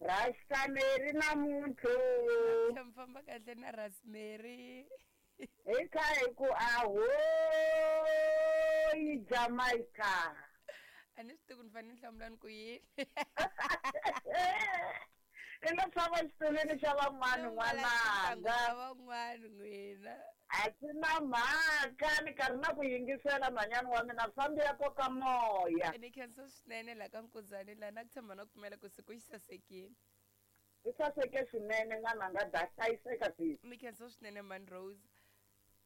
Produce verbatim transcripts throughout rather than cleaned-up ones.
Rasta Mary namuntlha. Mi famba kahle na Rosemary. Hi kha hi ku ahoyi Jamaica. A ni swi tivi ku ni fanele ni hlamula ni ku yini. I nga tshama xitulwini xa van'wana n'wananga. Van'wana n'wina. A swi na mhaka ni karhi na ku yingisela nhwanyana wa mina fambi ya koka moya. Ni khensa swinene laha ka Nkuzani laha na ku tshemba na ku pfumela ku siku xi sasekile. Xi saseke swinene n'wananga da hlayiseka sisi. Ni khensa swinene man Rose.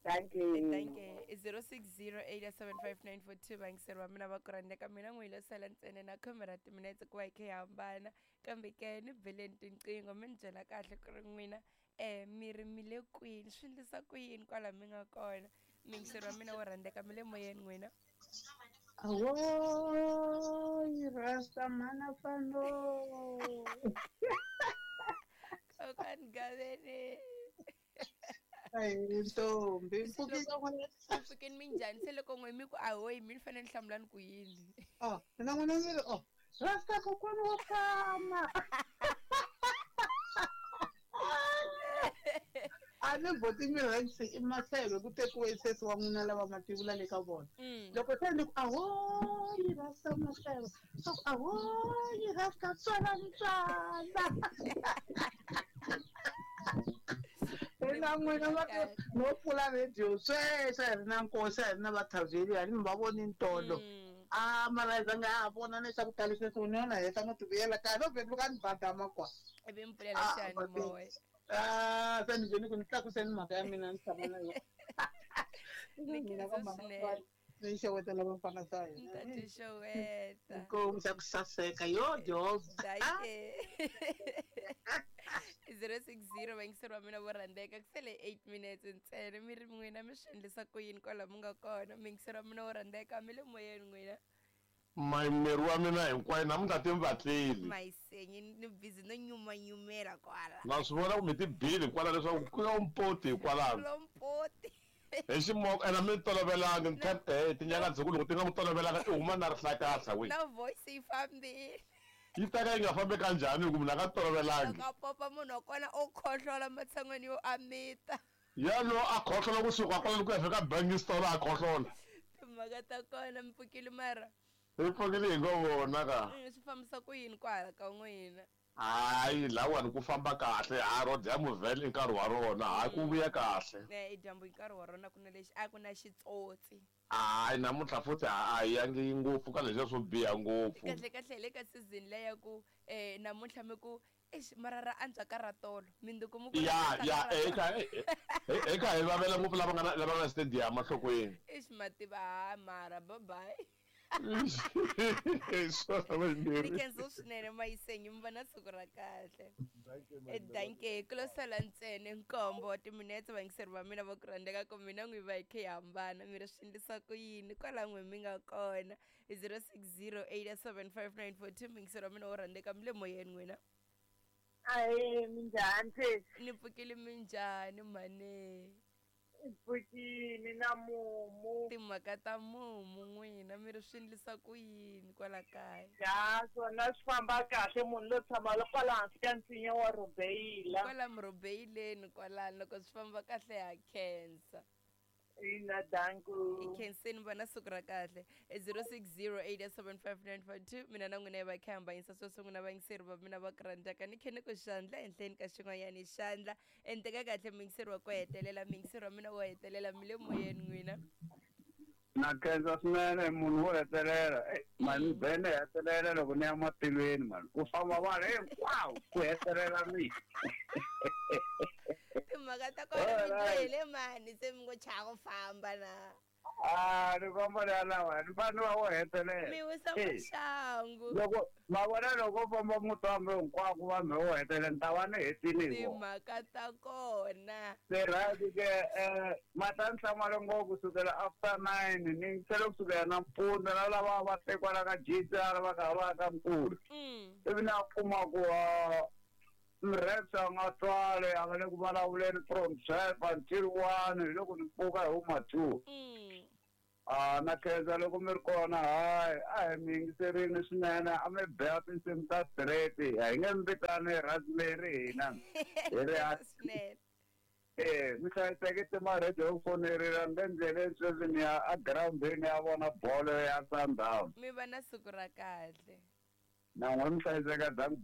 Thank you. Thank you. zero six zero eight seven five nine four two vayingiseri va mina va ku rhandzeka mina n'wi lo sala ntsena na khume ra timinetse ku va hi kha hi hambana kambe ke ni beleni tinqingho mi ni byela kahle ku ri n'wina um mi ri mi le kwini swi endlisa ku yini kwala mi nga kona muyingiseri wa mina wo rhandzeka mi le moyeni n'wina. Ahoyi Rasta mana fano. Kokani gaveni. Ai ntombi mpfukeni minjhani se loko n'we mi ku ahoyi mi ni fanele ni hlamula ni ku yini. Oh mina n'wina mi ri oh Rasta kokwana wa fana. A ni voti mi rhansi i maseve ku tekiwe sesi wa n'wina lava mativula le ka vona. Loko se ni ku ahoyi Rasta maseve so ahoyi Rasta tswala ntswala. Ina n'wina va no pfula radio sweswi a hi ri na nkosi a hi ri na vathavheli a ni va voni ntolo. A mara hi nga ha vona leswaku tali sweswi ni yona heta no ti vuyela kaya no vhele ni badama kwa. Ivi mi pfulela xiyanimoya. Ah se ni vhele ku ni tlakuseni mhaka ya mina ni tshama na yona. Ni khensa swinene. Ni xewetela vafana sa hina. Ni ta ti xeweta. Inkomu xa ku saseka yo dyondzo. Dankie. zero six zero vayingiseri va mina vo rhandzeka ku sele eight minutes ntsena mi ri n'wina mi swi endlisa ku yini kwala mi nga kona muyingiseri wa mina wo rhandzeka mi le moyeni n'wina. Mayimeri wa mina hinkwayo namuntlha ti mi vatleli. Mayisenyi ni busy no nyumanyumela kwala. Na swi vona ku mi ti bile kwala leswaku ku ya mpoti hikwalano. Lompoti. Hi ximoko ene mi tolovelangi tinyanga ndzhaku loko ti nga ku tolovelanga i huma na rihlakahla we. Na voice yi fambile. Yi ta ka yi nga fambi kanjhani hi ku munhu a nga tolovelangi. Loko a popa munhu wa kona o khohlola matshan'weni yo amita. Yalo a khohlola kusuka kwalano ku ya fika bangi store a khohlola. Timhaka ta kona mi pfukile mara. Hi pfukile hi ngo vona ka. Swi fambisa ku yini kwala ka n'wina? Hayi lawani ku famba kahle ha ro dyambu vhele i nkarhi wa rona hayi ku vuya kahle. E dyambu hi nkarhi wa rona ku na lexi a ku na xitsotsi. Hayi namuntlha futhi a hi yangi ngopfu ka leswiya swo biha ngopfu. Kahle kahle hi le ka season leya ya ku um namuntlha mi ku exi mara ra antswa ka ra tolo minduku mi ku ya ya eka eka hi vavela ngopfu lava nga na lava nga na stadium enhlokweni. Exi mativa ha mara bye bye. Ni khensa swinene mayisenyi mi va na siku ra kahle. Dankie ku lo sala ntsena nkombo wa timinetse vayingiseri va mina va ku rhandzeka ku mina n'wi va hi kha hi hambana mi ri swi endlisa ku yini kwala n'we mi nga kona zero six zero eight seven five nine four two muyingiseri wa mina wo rhandzeka mi le moyeni n'wina. Ahe minjhani sesi? Ni pfukile minjhani mhani? Pfukile na mumu. Timhaka ta mumu n'wina mi ri swi endlisa ku yini kwala kaya? Ya swona swi famba kahle munhu lo tshama kwala hansi ka nsinya wa rhubeyila. Kwala murhubeyileni kwalano loko swi famba kahle ha khensa. Ina danku. I khenseni va na siku ra kahle. zero six zero eight seven five nine four two mina na n'wina hi va kha hambanyisa sweswo n'wina vayingiseri va mina va ku rhandzaka ni khe ni ku xandla ehenhleni ka xin'wanyana xandla endleka kahle muyingiseri wa ku hetelela muyingiseri wa mina wo hetelela mi le moyeni n'wina. Na khensa swinene munhu wo hetelela mani vhele hetelela loko ni ya matilweni mani ku famba vanhu hinkwawo ku hetelela mina. Timhaka ta kona mi dyohile mani se mi ngo chava ku famba na. Ah ni komba la lawa ni fanele va wo hetelela. Mi wisa maxangu. Loko ma vona loko famba muti wa mina hinkwako vanhu wo hetelela ni ta va ni hetile hi vona. Timhaka ta kona. Se right ke eh mata nhlamulo ngopfu kusukela after nine ni tlhela kusukela nampundzu na lava va tekwala ka G C R va ka va ka nkulu. Ivi na kuma ku Mrepsa nga twale a nga le ku vulavuleni from twelve until one hi loko ni pfuka hi huma two. A na khensa loko mi ri kona hayi a hi mi yingiserini swinene a mi bela tinsimu ta straight a hi nge mi vitani raspberry hina hi ri swinene eh mi hlayiseke timarhedio yo fonerela ni le ndleleni sweswi ni ya egirawundini ya vona bolo ya Sundowns mi va na siku ra kahle na n'we mi hlayiseka dank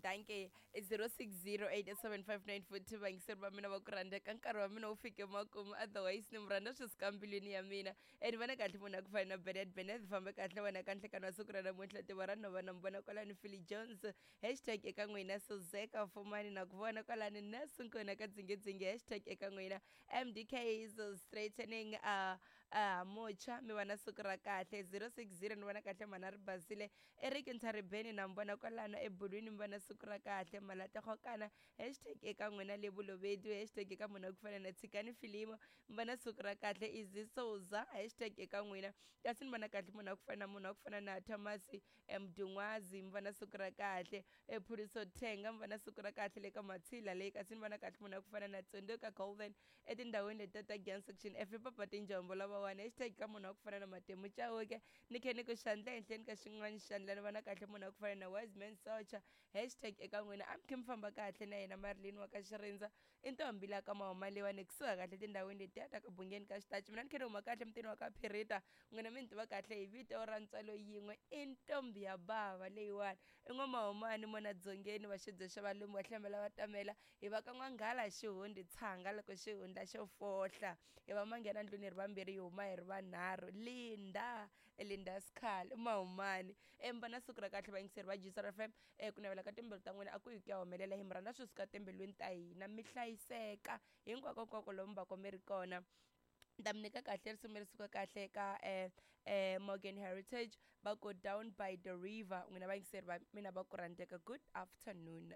danke zero six zero eight seven five nine four two vayingiseri va mina va ku rhandzeka nkarhi wa mina wu fike makumu otherwise ni mi rhandza swi suka mbilwini ya mina and vona kahle munhu a ku fana na benet benet fambe kahle wena ka nhlekani wa siku ra namuntlha tiva ra nhova na mi vona kwalani philly jones hashtag eka n'wina suzeka fumani na ku vona kwalani nasunkona ka dzingedzinge hashtag eka n'wina mdk is straightening uh, uh, mucha mi va na siku ra kahle zero six zero ni vona kahle mhana ri basile eric ntharibeni na mi vona kwalano ebulwini mi va na siku ra kahle malategokana hashtag eka n'wina le Bolobedu hashtag eka munhu wa ku fana na tshikani filimo mi va na siku ra kahle Izzy Souza hashtag eka n'wina kasi ni vona kahle munhu wa ku fana na munhu wa ku fana na Thomas Mdungwazi mi va na siku ra kahle Phuliso Thenga mi va na siku ra kahle le ka Matshila leyi kasi ni vona kahle munhu wa ku fana na Tsunduka Golden etindhawini leti ta Gyan section F papa tinjombo lavawani hashtag ka munhu wa ku fana na Matemu Chauke ni khe ni ku xandla ehenhleni ka xin'wana xandla ni vona kahle munhu wa ku fana na Wiseman Socha hashtag eka n'wina a mi khe mi famba kahle na yena Marilyn wa ka Xirindza i ntombi la ka Mahoma leyiwani kusuka kahle tindhawini letiya ta ka Bungeni ka Xitachi mina ni khe ni huma kahle mutini wa ka Phirita n'wina mi ni tiva kahle hi vito ra ntswalo yin'we i ntombi ya bava leyiwani i n'wamahomani mona dzongeni va xibye xa valumbi va hlambela va tamela hi va ka n'wanghala xihundi tshanga loko xihundla xo fohla hi va manghena ndlwini hi ri vambirhi hi huma hi ri vanharhu Linda Linda Sikhali Mahomani emba na siku ra kahle vayingiseri va G S R F M ku navela ka timbilu ta n'wina a ku yi ku ya humelela hi mi rhandza swi suka timbilwini ta hina mi hlayiseka hinkwakonkwako lomu va mi ri kona ta mi nyika kahle risimu leri suka kahle ka eh, eh, Morgan Heritage va go down by the river n'wina vayingiseri va mina va ku rhandzeka good afternoon.